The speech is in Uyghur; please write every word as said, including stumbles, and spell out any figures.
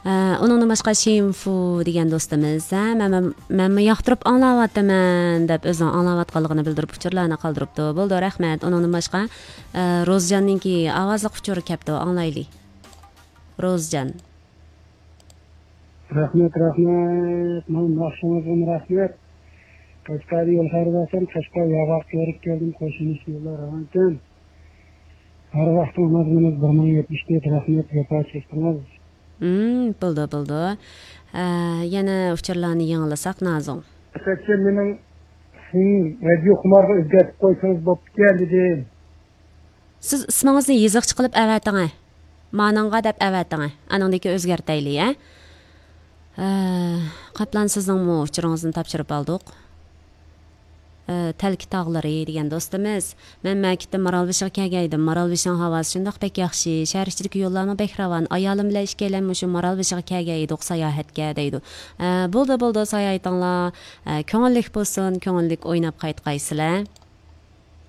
ئۇنىڭدىن باشقا شىنفۇ دېگەن دوستىمىز، ھە، مەن، مەن، مەنمۇ ياقتۇرۇپ ئاڭلاۋاتىمەن دەپ ئۆزىنىڭ ئاڭلاۋاتقانلىقىنى بىلدۈرۈپ ئۇچۇرلارنى قالدۇرۇپتۇ. بولدى، رەھمەت. ئۇنىڭدىن باشقا، ئە، روزجاننىڭكى ئاۋازلىق ئۇچۇرى كەپتۇ، ئاڭلايلى. روزجان. رەھمەت، رەھمەت. مانا ناخشىڭىزغىمۇ رەھمەت. قەشقەردە يول خەير بەرسەم، قەشقەر ياغاققا كۆرۈپ كەلدىم، قوشۇلۇش يوللار راۋانكەن. ھەر ۋاقتىڭىز مەزمۇنىڭىز بىر مىڭ يەتمىش تۆت، رەھمەت، جاپا چەكتىڭىز. مم، بولدى، بولدى. ئە، يەنە ئۇچۇرلارنى يېڭىلىساق، نازۇڭ. ئەسەتجان، مېنىڭ سىڭ رادىيو خۇمارغا ئۆزگەرتىپ قويسىڭىز بوپتىكەن دېدىم. سىز ئىسمىڭىزنى يېزىقچە قىلىپ ئەۋەتىڭە. مانىڭغا دەپ ئەۋەتىڭە. ئانىڭدىن كېيىن ئۆزگەرتەيلى، ھە؟ ئە، قاپلان، سىزنىڭمۇ ئۇچۇرىڭىزنى تاپشۇرۇپ ئالدۇق. ئە، تەلكە تاغلىرى دېگەن دوستىمىز، مەن مەكىتتە مارالبېشىغا كەلگەن ئىدىم. مارالبېشىنىڭ ھاۋاسى شۇنداق بەك ياخشى، شەھەر ئىچىدىكى يوللارمۇ بەك راۋان. ئايالىم بىلەن ئىككىيلەن مۇشۇ مارالبېشىغا كەلگەن ئىدۇق ساياھەتكە، دەيدۇ. ئە، بولدى، بولدى، ساياھىتىڭلار، ئە، كۆڭۈللۈك بولسۇن، كۆڭۈللۈك ئويناپ قايتقايسىلەر.